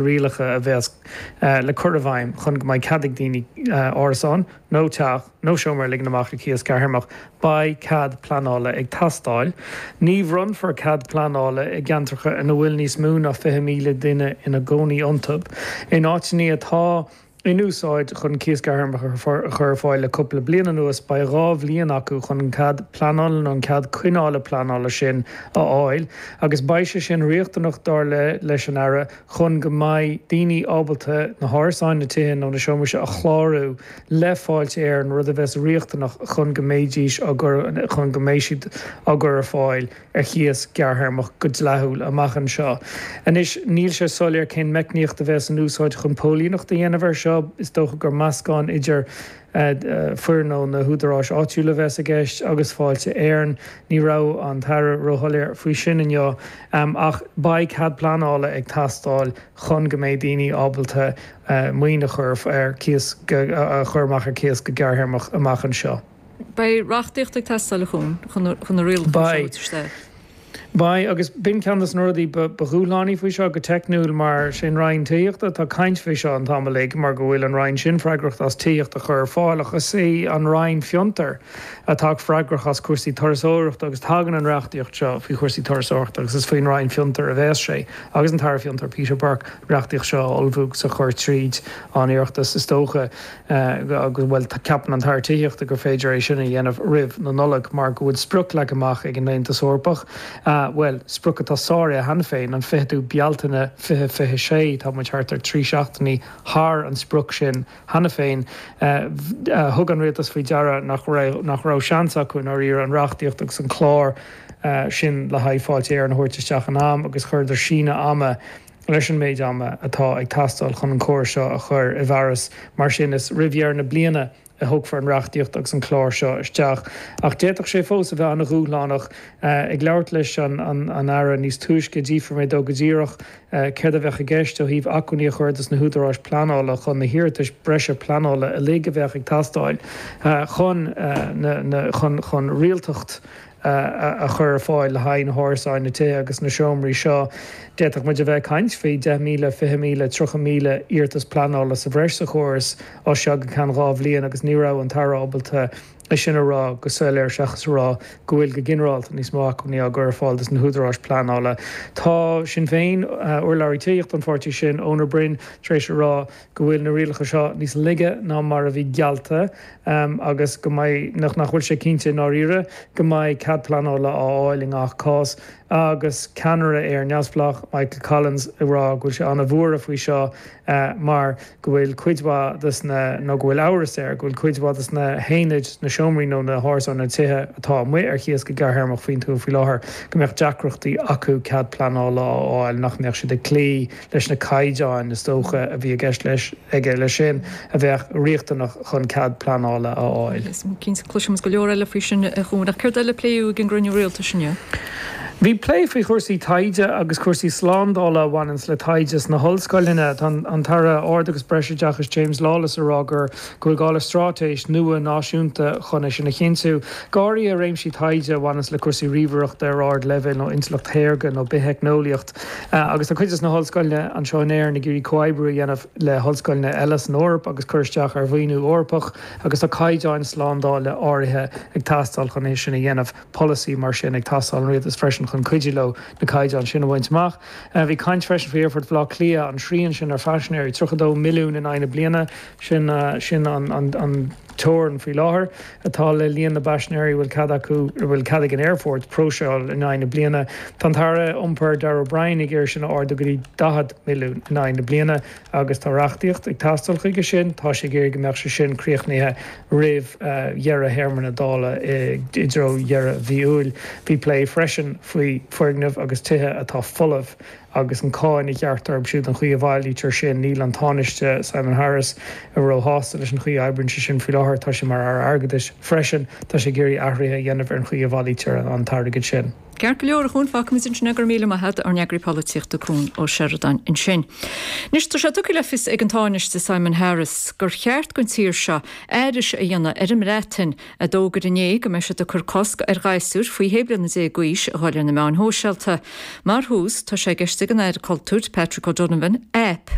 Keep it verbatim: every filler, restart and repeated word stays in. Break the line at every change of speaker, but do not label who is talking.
Rialacha a bheas le cur i bhfeidhm chun go mbeidh cead ag daoine árasán nó teach nó seomra a ligean amach ar cíos gearrthéarmach, beidh cead pleanála ag teastáil. Ní bhronnfar cead pleanála i gceantracha ina bhfuil níos mó ná fiche míle duine ina gcónaí iontu, in áiteanna atá in úsáid chun cíos gearrthéarmach a chur ar fáil le cúpla bliain anuas, beidh dhá bhliain acu chun an cead pleanála nó an cead coinneála pleanála sin a fháil agus beidh sé sin riachtanach, dar leis an Aire, chun go mbeidh daoine ábalta na hárasáin, na tithe nó na seomraí seo a chlárú le Fáilte Éireann, rud a bheas riachtanach chun go mbeidís á gcur chun go mbeidh siad á gcur ar fáil ar chíos gearrthéarmach go dleathúil amach anseo. Anois, níl sé soiléir cén meicníocht a bheas in úsáid chun póilíneacht a dhéanamh air seo, is dócha gur meascán idir foireann ó na húdaráis áitiúla a bheas i gceist agus Fáilte Éireann. Ní raibh an tAire róshoiléir faoi sin inniu, ach beidh cead pleanála ag teastáil chun go mbeidh daoine ábalta maoin a chur ar cíos a chur amach ar cíos go gearrthéarmach amach anseo.
Beidh reachtaíocht ag teastáil a Chuain chun na rialacha seo a thabhairt isteach.
Beidh, agus b'in ceann de na rudaí ba dhúshlánaí faoi seo go teicniúil mar sé an Roinn Tithíochta atá ag caint faoi seo an t-am uilig mar go bhfuil an Roinn sin freagrach as tithíocht a chur ar fáil ach is í an Roinn Fiontair atá freagrach as cúrsaí turasóireachta agus tagann an reachtaíocht seo faoi chúrsaí turasóireachta agus is faoin Roinn Fiontair a bheas sé agus an tAire Fiontair Peter Burke an reachtaíocht seo a ullmhú agus a chur tríd an Oireachtas is dócha. Agus, bhuel, ceapann an tAire Tithíochta gur féidir é sin a dhéanamh roimh na Nollag mar go bhfuil sprioc leagtha amach ag an Aontas Eorpach, bhuel, sprioc atá sáraithe cheana féin, an ficheadú Bealtaine fiche fiche sé, tá muid thart ar trí seachtainí thar an sprioc sin cheana féin. Thug an Rialtas faoi deara nach raibh nach raibh seans acu i ndáiríre an reachtaíocht agus an clár sin le haghaidh Fáilte Éireann a thabhairt isteach in am agus chuireadar síneadh ama leis an méid ama atá ag teastáil chun an córas seo a chur i bhfearas. Mar sin, is roimh dheireadh na bliana a thiocfar an reachtaíocht agus an clár seo isteach. Ach d'fhéadfadh sé fós a bheith an-dhúshlánach. Ag labhairt leis an Aire níos túisce, d'fhiafraigh mé dó go díreach céard a bheadh i gceist ó thaobh acmhainní a chur dos na húdaráis pleanála chun na hiarratais breise pleanála uilig a bheadh ag teastáil chun na chun rialtacht a chur ar fáil le haghaidh na hárasáin, na tithe agus na seomraí seo. D'fhéadfadh muid a bheith ag caint faoi deich míle, fiche míle, tríocha míle iarratas pleanála sa bhreis sa chóras as seo go ceann dhá bhliain agus ní raibh an tAire ábalta é sin a rá go soiléir seachas a rá go bhfuil go ginearálta níos mó acmhainní á gcur ar fáil dos na húdaráis pleanála. Tá Sinn Féin, urlabhraí tithíochta an pháirtí sin, Eoin Ó Broin, tar éis a rá go bhfuil na rialacha seo níos laige ná mar a bhí geallta agus go mbeidh, nach bhfuil sé cinnte i ndáiríre go mbeidh cead pleanála á fháil i ngach cás agus ceannaire Éire Neamhspleách, Michael Collins ag rá go bhfuil sé an-bhuartha faoi seo mar go bhfuil cuid mhaith des na, nó go bhfuil amhras air go bhfuil cuid mhaith des na haonaid, na seomraí nó na hárasáin, na tithe atá amuigh ar chíos go gearrthéarmach faoin tuath faoi láthair, go mbeadh deacrachtaí acu cead pleanála a fháil, nach mbeadh siad ag cloí leis na caighdeáin is dócha a bhí i gceist leis aige leis sin a bheadh riachtanach chun cead pleanála a fháil.
Cinnte, cloisfimid go leor eile faoi sin a Chuain. Ach céard eile a pléadh ag an gcruinniú rialtais inniu?
Bhí plé faoi chúrsaí taighde agus cúrsaí slándála a bhaineanns le taighde sna hollscoileanna. Tá an tAire Ard agus Breisoideachais James Lawless ag rá gur go bhfuil gá le straitéis nua náisiúnta chun é sin a chinntiú, go háirithe i réimsí taighde a bhaineanns le cúrsaí ríomhaireachta ar ardleibhéal nó intleacht shaorga nó bitheicneolaíocht. Agus tá cuid de na hollscoileanna anseo in Éirinn ag iarraidh comhoibriú a dhéanamh le hollscoileanna eile san Eoraip agus cur isteach ar mhaoiniú Eorpach agus tá caighdeáin slándála áirithe ag teastáil chun é sin a dhéanamh. Polasaí mar sin ag teastáil ón rialtas freisin chun cuidiú leo na caighdeáin sin a bhaint amach. Bhí caint freisin faoi Aerfort Bhaile Átha Cliath, an srian sin ar phaisinéirí, tríocha dó milliún in aghaidh na bliana, sin sin an teorainn faoi láthair atá le líon na bpaisinéirí a bhfuil cead acu, a bhfuil cead ag an aerfort próiseáil in aghaidh na bliana. Tá an tAire Iompair Darragh O'Brien ag iarraidh sin a ardú go dtí daichead milliún in aghaidh na bliana agus tá reachtaíocht ag teastáil chuige sin. Tá sé ag iarraidh go mbeadh sé sin críochnaithe roimh dheireadh théarma na Dála i dtreo dheireadh mhí Iúil. Bhí plé freisin faoi foirgnimh agus tithe atá folamh agus an cáin a ghearrtar orthu siúd, an chaoi a bhailítear sin. Níl an Tánaiste Simon Harris róshásta leis an chaoi a oibríonn sé sin faoi láthair. Tá sé mar Aire Airgeadais freisin. Tá sé ag iarraidh athruithe a dhéanamh ar an chaoi a bhailítear an t-airgead sin.
Ceart go leor a Chuain fágfaimid ansin go raibh míle maith agat ár n-eagraí polaitíochta Cuan Ó Seireadáin ansin. Anois tá sé tugtha le fios ag an Tánaiste Simon Harris gur cheart don tír seo aithris a dhéanamh ar an mBreatain a d'fhógair inné go mbeidh siad ag cur cosc ar ghasúir faoi shé bliana déag d'aois a dhul ar na meáin shóisialta. Mar thús tá sé i gceist ag an Aire Cultúir Patrick O'Donovan app